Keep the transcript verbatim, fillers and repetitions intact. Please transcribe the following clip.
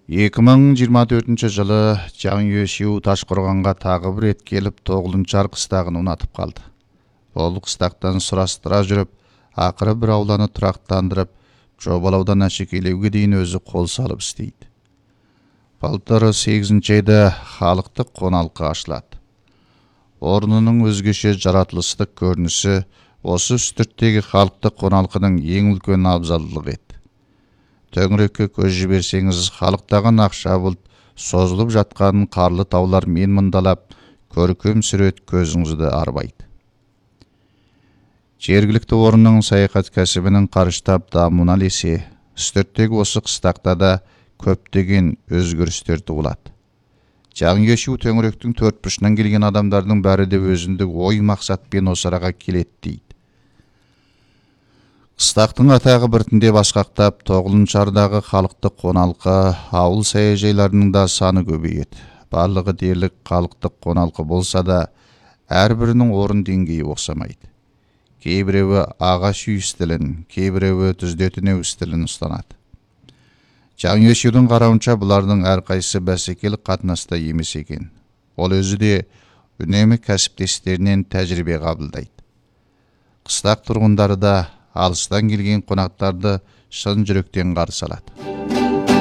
эки миң жыйырма төртүнчү жылы Жаңы Өшүү Ташкоргонго тагы бир рет келип Тогулунчар кыстагын унатып калды. Ол кыстактан сурастыра жүрүп, акыры бир ауланы турактандырып, жобалаудан ашекелеуге дейин өзү кол салып иштейт. Былтыр сегизинчи айда халыктык коналкы ачылат. Орнунун өзгөчө жаратылыштык көрүнүшү осы үстүрттеги халыктык коналкынын эң үлкөн абзалдыгы эт. Төңүрөккө көз жиберсеңиз, халыктаган акча булт созулуп жаткан карлы таулар мен мындалап, көркөм сүрөт көзүңүздү арбайт. Жергиликтүү орунун саякат касыбынын карыштап дамууна элесе, үстүрттеги осы кыстакта да көптөгөн өзгөрүштөр туулат. Жаңы Өшүү төңүрөктүн төрт бурчунан келген адамдардын баары да өзүндүк ой максат менен осы арага келет дейт. Кыстактын атагы биртиндеп башкактап, Тогулунчардагы халыктык коналкы, ауыл саяжайларынын да саны көбөйөт. Барлыгы дээрлик халыктык коналкы болса да, ар биринин орун деңгээи окшомойт. Кээ бирөө агач үй стилин, кээ бирөө түздөтүнө стилин устанат. Жаңы Өшүүнүн карауынча булардын ар кайсы бәсекелик катнаста эмес экен. Ол өзү де үнемі кәсиптештеринен тажрыйбе кабылдайт. Кыстак тургундары да алыстан келген конактарды шын жүрөктөн каршы алат.